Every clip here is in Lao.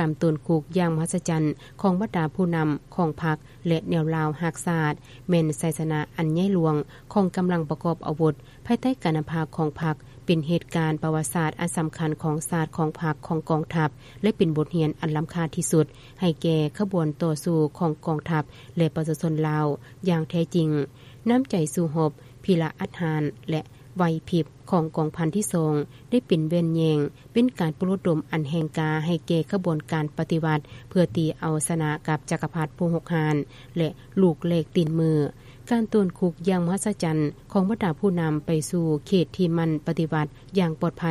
ການໂຕນຄຸກຢ່າງມະຫັດສະຈັນຂອງບັນດາຜູ້ນຳຂອງພັກ ແລະ ແນວລາວຮັກຊາດ ແມ່ນໄຊຊະນະອັນໃຫຍ່ຫຼວງຂອງກຳລັງປະກອບອາວຸດ ພາຍໃຕ້ການນຳພາຂອງພັກ, ເປັນເຫດການປະຫວັດສາດອັນສຳຄັນຂອງຊາດ, ຂອງພັກ, ຂອງກອງທັບ ແລະ ເປັນບົດຮຽນອັນລ້ຳຄ່າທີ່ສຸດໃຫ້ແກ່ຂະບວນຕໍ່ສູ້ຂອງກອງທັບ ແລະ ປະຊາຊົນລາວຢ່າງແທ້ຈິງ. ນ້ຳໃຈສູ້ຮົບ, ພິລະອັດຫານ ແລະ ໄຫວພິບຂອງກອງພັນທີສອງ ໄດ້ເປັນແວ່ນແຍງ, ເປັນການປຸກລະດົມອັນແຮງກ້າໃຫ້ແກ່ຂະບວນການປະຕິວັດ ເພື່ອຕີເອົາຊະນະກັບຈັກກະພັດຜູ້ຮຸກຮານ ແລະ ລູກແລກຕີນມື. ການໂຕນຄຸກຢ່າງມະຫັດສະຈັນຂອງບັນດາຜູ້ນຳໄປສູ່ເຂດທີ່ໝັ້ນປະຕິວັດຢ່າງປອດໄພ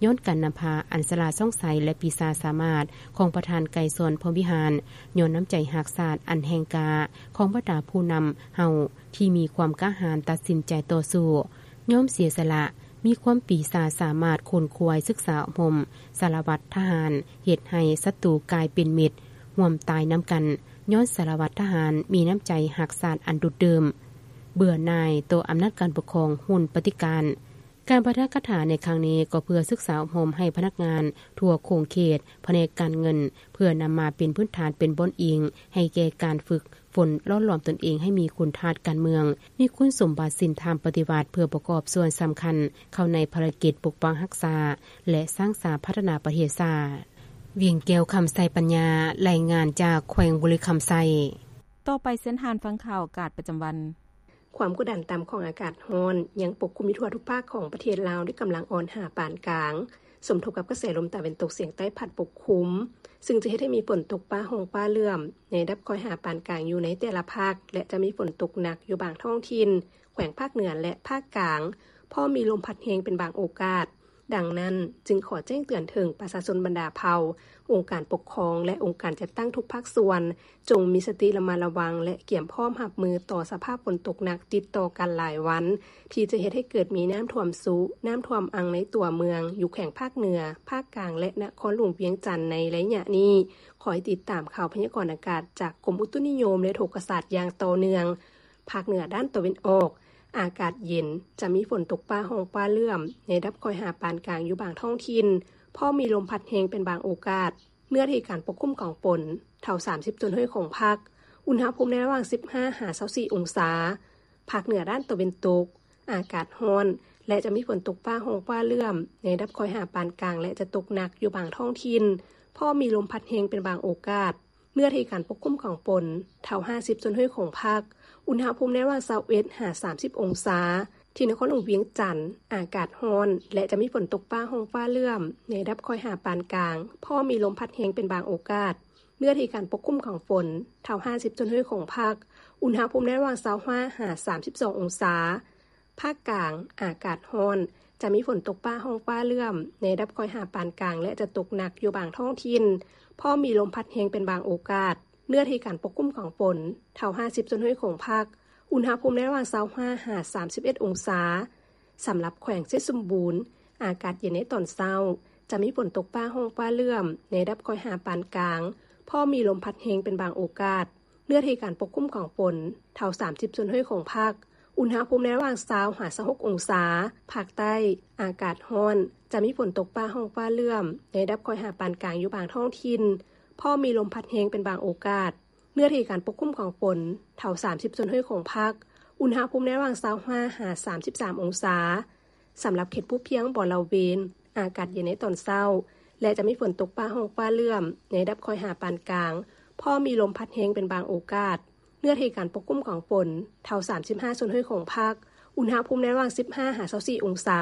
ຍ້ອນການນຳພາອັນສະຫຼາດຊ່ອງໄຊ ແລະ ປີຊາສາມາດຂອງປະທານໄກສອນ ພົມວິຫານ, ຍ້ອນນ້ຳໃຈຮັກຊາດອັນແຮງກ້າຂອງບັນດາຜູ້ນຳເຮົາ ທີ່ມີຄວາມກ້າຫານຕັດສິນໃຈຕໍ່ສູ້, ຍອມເສຍສະຫຼະ, ມີຄວາມປີຊາສາມາດຂົນຂວາຍສຶກສາອົບຮົມສາລະວັດທະຫານ, ເຮັດໃຫ້ສັດຕູກາຍເປັນມິດ, ຮ່ວມຕາຍນຳກັນ, ຍ້ອນສາລະວັດທະຫານມີນ້ຳໃຈຮັກຊາດອັນດຸດດື່ມ, ເບື່ອໜ່າຍຕໍ່ອຳນາດການປົກຄອງຮຸ່ນປະຕິການ. ການປາຖະກະຖາໃນຄັ້ງນີ້ກໍເພື່ອສຶກສາອົບຮົມໃຫ້ພະນັກງານທົ່ວຂົງເຂດ, ພະແນກການເງິນ, ເພື່ອນຳມາເປັນພື້ນຖານເປັນບ່ອນອີງໃຫ້ແກ່ການຝຶກ ຝົນຫຼໍ່ຫຼອມຕົນເອງໃຫ້ມີຄຸນທາດການເມືອງ, ມີຄຸນສົມບັດສິນທຳປະຕິວັດ ເພື່ອປະກອບສ່ວນສຳຄັນເຂົ້າໃນພາລະກິດປົກປັກຮັກສາ ແລະ ສ້າງສາພັດທະນາປະເທດຊາດ. ວຽງແກ້ວ ຄຳໄຊປັນຍາ, ລາຍງານຈາກແຂວງບໍລິຄຳໄຊ. ຕໍ່ໄປເຊີນທ່ານຟັງຂ່າວອາກາດປະຈຳວັນ. ຄວາມກົດດັນຕ່ຳຂອງອາກາດຮ້ອນຍັງປົກຄຸມຢູ່ທົ່ວທຸກພາກຂອງປະເທດລາວ ດ້ວຍກຳລັງອ່ອນຫາປານກາງ. ສົມທົບກັບກະແສລົມຕາເວັນຕົກສຽງໃຕ້ພັດປົກຄຸມ, ຊຶ່ງຈະເຮັດໃຫ້ມີຝົນຕົກຟ້າຮ້ອງຟ້າເຫຼື້ອມໃນລະດັບຄ່ອຍຫາປານກາງຢູ່ໃນແຕ່ລະພາກ ແລະ ຈະມີຝົນຕົກໜັກຢູ່ບາງທ້ອງຖິ່ນ ແຂວງພາກເໜືອ ແລະ ພາກກາງ, ພ້ອມມີລົມພັດແຮງເປັນບາງໂອກາດ. ດັ່ງນັ້ນ, ຈຶ່ງຂໍແຈ້ງເຕືອນເຖິງປະຊາຊົນບັນດາເຜົ່າ, ອົງການປົກຄອງ ແລະ ອົງການຈັດຕັ້ງທຸກພາກສ່ວນ, ຈົ່ງມີສະຕິລະມັດລະວັງ ແລະ ກຽມພ້ອມຮັບມືຕໍ່ສະພາບຝົນຕົກໜັກຕິດຕໍ່ກັນຫຼາຍວັນ, ທີ່ຈະເຮັດໃຫ້ເກີດມີນ້ຳຖ້ວມຊຸ, ນ້ຳຖ້ວມອັ່ງໃນຕົວເມືອງ, ຢູ່ແຂວງພາກເໜືອ, ພາກກາງ ແລະ ນະຄອນຫຼວງວຽງຈັນໃນໄລຍະນີ້. ຄອຍຕິດຕາມຂ່າວພະຍາກອນອາກາດຈາກກົມອຸຕຸນິຍົມ ແລະ ອຸທົກກະສາດຢ່າງຕໍ່ເນື່ອງ. ພາກເໜືອດ້ານຕາເວັນອອກ, ອາກາດເຢັນ, ຈະມີຝົນຕົກຟ້າຮ້ອງຟ້າເຫຼື້ອມໃນລະດັບຄ່ອຍຫາປານກາງຢູ່ບາງທ້ອງຖິ່ນ, ພ້ອມມີລົມພັດແຮງເປັນບາງໂອກາດ. ເນື້ອທີ່ການປົກຄຸມຂອງຝົນ ເທົ່າສາມສິບສ່ວນຮ້ອຍຂອງພາກ, ອຸນຫະພູມໃນລະຫວ່າງສິບຫ້າຫາຊາວສີ່ອົງສາ. ພາກເໜືອດ້ານຕາເວັນຕົກ, ອາກາດຮ້ອນ ແລະ ຈະມີຝົນຕົກຟ້າຮ້ອງຟ້າເຫຼື້ອມໃນລະດັບຄ່ອຍຫາປານກາງ ແລະ ຈະຕົກໜັກຢູ່ບາງທ້ອງຖິ່ນ, ພ້ອມມີລົມພັດແຮງເປັນບາງໂອກາດ. ເນື້ອທີ່ການປົກຄຸມຂອງຝົນ ເທົ່າຫ້າສິບສ່ວນຮ້ອຍຂອງພາກ, ອຸນຫະພູມໃນລະຫວ່າງຊາວເອັດຫາສາມສິບອົງສາ. ທີ່ນະຄອນຫຼວງວຽງຈັນ, ອາກາດຮ້ອນ ແລະ ຈະມີຝົນຕົກຟ້າຮ້ອງຟ້າເຫຼື້ອມໃນລະດັບຄ່ອຍຫາປານກາງ, ພ້ອມມີລົມພັດແຮງເປັນບາງໂອກາດ. ເນື້ອທີ່ການປົກຄຸມຂອງຝົນ ເທົ່າຫ້າສິບສ່ວນຮ້ອຍຂອງພາກ, ອຸນຫະພູມໃນລະຫວ່າງຊາວຫ້າຫາສາມສິບສອງອົງສາ. ພາກກາງ, ອາກາດຮ້ອນ, ຈະມີຝົນຕົກຟ້າຮ້ອງຟ້າເຫຼື້ອມໃນລະດັບຄ່ອຍຫາປານກາງ ແລະ ຈະຕົກໜັກຢູ່ບາງທ້ອງຖິ່ນ, ພ້ອມມີລົມພັດແຮງເປັນບາງໂອກາດ. ເນື້ອທີ່ການປົກຄຸມຂອງຝົນ ເທົ່າຫ້າສິບສ່ວນຮ້ອຍຂອງພາກ, ອຸນຫະພູມໃນລະຫວ່າງຊາວຫ້າຫາສາມສິບເອັດອົງສາ. ສຳລັບແຂວງໄຊສົມບູນ, ອາກາດເຢັນໃນຕອນເຊົ້າ, ຈະມີຝົນຕົກຟ້າຮ້ອງຟ້າເຫຼື້ອມໃນລະດັບຄ່ອຍຫາປານກາງ, ພ້ອມມີລົມພັດແຮງເປັນບາງໂອກາດ. ເນື້ອທີ່ການປົກຄຸມຂອງຝົນ ເທົ່າສາມສິບສ່ວນຮ້ອຍຂອງພາກ, ອຸນຫະພູມໃນລະຫວ່າງຊາວຫາຊາວຫົກອົງສາ. ພາກໃຕ້, ອາກາດຮ້ອນ, ຈະມີຝົນຕົກຟ້າຮ້ອງຟ້າເຫຼື້ອມໃນລະດັບຄ່ອຍຫາປານກາງຢູ່ບາງທ້ອງຖິ່ນ, ພ້ອມມີລົມພັດແຮງເປັນບາງໂອກາດ. ເນື້ອທີ່ການປົກຄຸມຂອງຝົນ ເທົ່າສາມສິບສ່ວນຮ້ອຍຂອງພາກ, ອຸນຫະພູມໃນລະຫວ່າງຊາວຫ້າຫາສາມສິບສາມອົງສາ. ສຳລັບເຂດພູພຽງບໍລະເວນ, ອາກາດເຢັນໃນຕອນເຊົ້າ ແລະ ຈະມີຝົນຕົກຟ້າຮ້ອງຟ້າເຫຼື້ອມໃນລະດັບຄ່ອຍຫາປານກາງ, ພ້ອມມີລົມພັດແຮງເປັນບາງໂອກາດ. ເນື້ອທີ່ການປົກຄຸມຂອງຝົນ ເທົ່າສາມສິບຫ້າສ່ວນຮ້ອຍຂອງພາກ, ອຸນຫະພູມໃນລະຫວ່າງສິບຫ້າຫາຊາວສີ່ອົງສາ.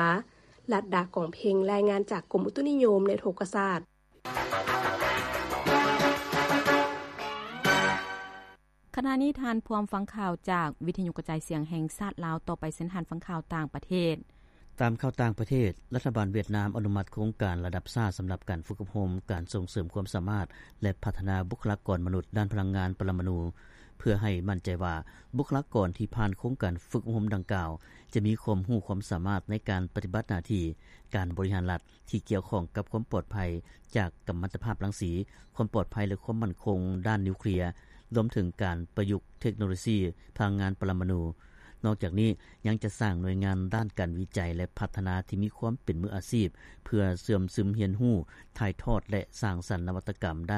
ລັດດາ ກອງເພັງ, ລາຍງານຈາກກົມອຸຕຸນິຍົມ ແລະ ອຸທົກກະສາດ. ຂະນະນີ້ທ່ານພວມຟັງຂ່າວຈາກວິທະຍຸກະຈາຍສຽງແຫ່ງຊາດລາວ. ຕໍ່ໄປເຊີນທ່ານຟັງຂ່າວຕ່າງປະເທດ. ຕາມຂ່າວຕ່າງປະເທດ, ລັດຖະບານຫວຽດນາມອະນຸມັດໂຄງການລະດັບຊາດສຳລັບການຝຶກອົບຮົມການສົ່ງເສີມຄວາມສາມາດ ແລະ ພັດທະນາບຸກຄະລາກອນມະນຸດດ້ານພະລັງງານປະລະມະນູ ເພື່ອໃຫ້ໝັ້ນໃຈວ່າບຸກຄະລາກອນທີ່ຜ່ານໂຄງການຝຶກອົບຮົມດັ່ງກ່າວ ຈະມີຄວາມຮູ້ຄວາມສາມາດໃນການປະຕິບັດໜ້າທີ່ການບໍລິຫານລັດ ທີ່ກ່ຽວຂ້ອງກັບຄວາມປອດໄພຈາກກັມມັນຕະພາບລັງສີ, ຄວາມປອດໄພ ແລະ ຄວາມໝັ້ນຄົງດ້ານນິວເຄລຍ, ລວມເຖິງການປະຍຸກເທັກໂນໂລຊີພະລັງງານປະລະມະນູ. ນອກຈາກນີ້, ຍັງຈະສ້າງໜ່ວຍງານດ້ານການວິໄຈ ແລະ ພັດທະນາທີ່ມີຄວາມເປັນມືອາຊີບ ເພື່ອເຊື່ອມຊຶມຮຽນຮູ້, ຖ່າຍທອດ ແລະ ສ້າງສັນນະວັດຕະກຳດ້ານ